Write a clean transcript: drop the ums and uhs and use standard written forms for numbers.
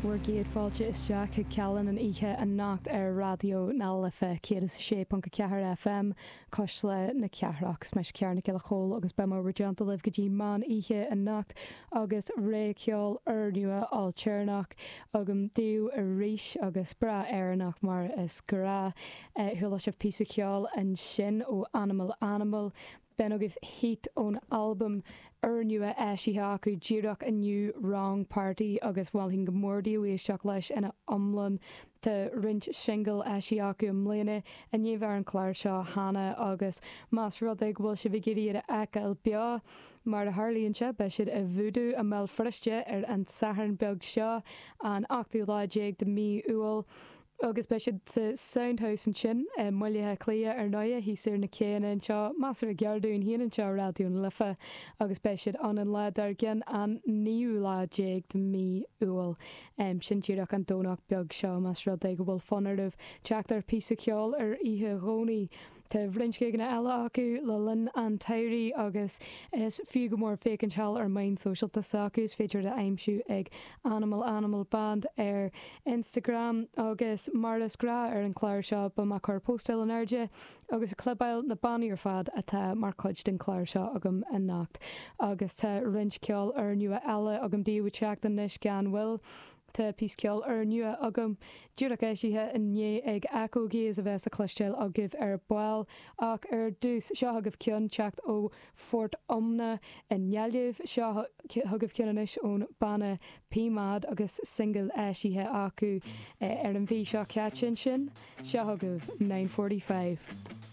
Bhur gcéad fáilte isteach chuig Callán an oíche anocht ar Raidió na Life 106.4 FM, Cuisle na Cathrach. Is mise Ciara Nic Giolla Chóill agus beidh mé i bhur dteannta libh go dtí meán oíche anocht agus rogha ceoil úrnua ailtéarnach agam daoibh arís agus breá Éireannach mar is gnáth. Chuala sibh píosa ceoil ansin ó Animal Animal. B'in agaibh Heat ón albam úrnua eisithe acu díreach inniu, Wrong Party, agus mholfainn go mór daoibh éisteacht leis ina iomlán. Tá roinnt singil eisithe acu i mbliana i ndiaidh bheith ar an chlár seo cheana agus más rud é go bhfuil sibh ag iarraidh iad a fheiceáil beo, mar a tharlaíonn sé, beidh siad i Voodoo i mBéal Feirste ar an Satharn beag seo, an ochtú lá déag de mhí Iúil. Agus beidh siad sa Soundhouse ansin i mBaile Átha Cliath ar ndóighe, thíos ar na céanna anseo, measartha gar dúinn féin anseo i Raidió na Life, agus beidh siad ann an lá dár gcionn, an naoú lá déag de mhí Iúil. Sin díreach an Domhnach beag seo, más rud é go bhfuil fonn oraibh teacht ar phíosa ceoil ar oíche Dhomhnaigh. Tá roinnt gigeanna eile acu le linn an tsamhraidh agus is fiú go mór féachaint thall ar meáin sóisialta s'acu, is féidir iad a aimsiú ag Animal Animal Band ar Instagram. Agus mar is gnáth ar an chlár seo, beidh mé ag cur póstáil in airde agus ag clibeáil na bannaí ar fad atá mar chuid den chlár seo agam anocht. Agus tá roinnt ceoil úrnua eile agam daoibh ag teacht anois gan mhoill. Tá píosa ceoil úrnua agam, díreach eisithe inné ag Echo Gaze a bheas le cloisteáil agaibh ar ball. Ach ar dtús, seo chugaibh ceann teacht ó Phort Omna i nGaillimh. Seo chugaibh ceann anois ón banna P-Mod agus singil eisithe acu ar an mhí seo caite ansin. Seo chugaibh 9:45.